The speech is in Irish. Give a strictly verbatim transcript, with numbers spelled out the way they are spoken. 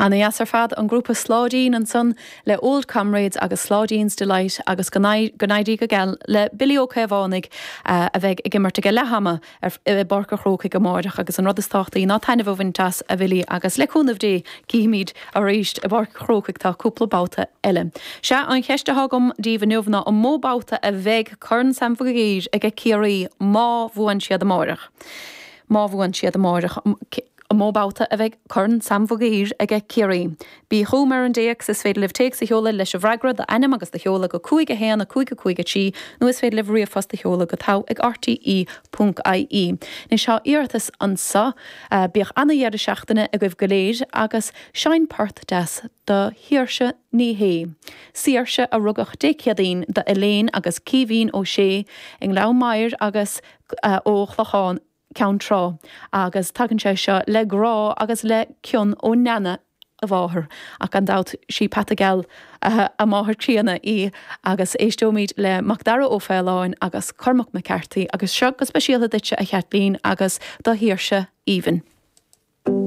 Ana-dheas ar fad an grúpa Sláidín ansan le Old Comrades agus Sládín's Delight agus go n-éirí go geal le Billy Ó Caomhánaigh uh, a bheidh ag imirt ag leath ama i bPáirc an Chrócaigh amárach agus an rud is tábhachtaí ná taitneamh a bhaint as a Bhilly agus le cúnamh Dé cífimid arís i bPáirc an Chrócaigh tá cúpla babhta eile. Sea an cheist atá agam daoibh inniu ná an mó babhta a bheidh Corn Sam Mhig Uidhir ag Ciarraí má bhuann siad amárach. Má bhuann siad amárach an mó babhta a bheidh Corn Sam Mhig Uidhir ag Ciarraí. Bí chugam ar an dtéacs is féidir libh téacs a sheoladh leis an bhfreagra d'ainm agus do sheoladh go cúig a haon a cúig a cúig a trí nó is féidir libh ríomhphost a sheoladh go togha ag RTE ponc IE. Anois tá iarratas anseo uh, bíodh ana-dheireadh seachtaine agaibh go léir agus seinn port deas do Shaoirse Ní Shé. Saoirse a rugadh Dé Céadaoin do Elaine agus Caoimhín Ó Sé i nGleann Maghair agus uh, ó Chlochán Ceann Trá agus tagann sé seo le grá agus le cion ó Nana a mháthair ach gan dabht sí Peata Geal uh, a máthair críonna í agus éisteoimid le Macdara Ó Faoláin agus Cormac McCarthy agus seo go speisialta duitse a Chaitlín agus do Shaoirse Aoibhinn.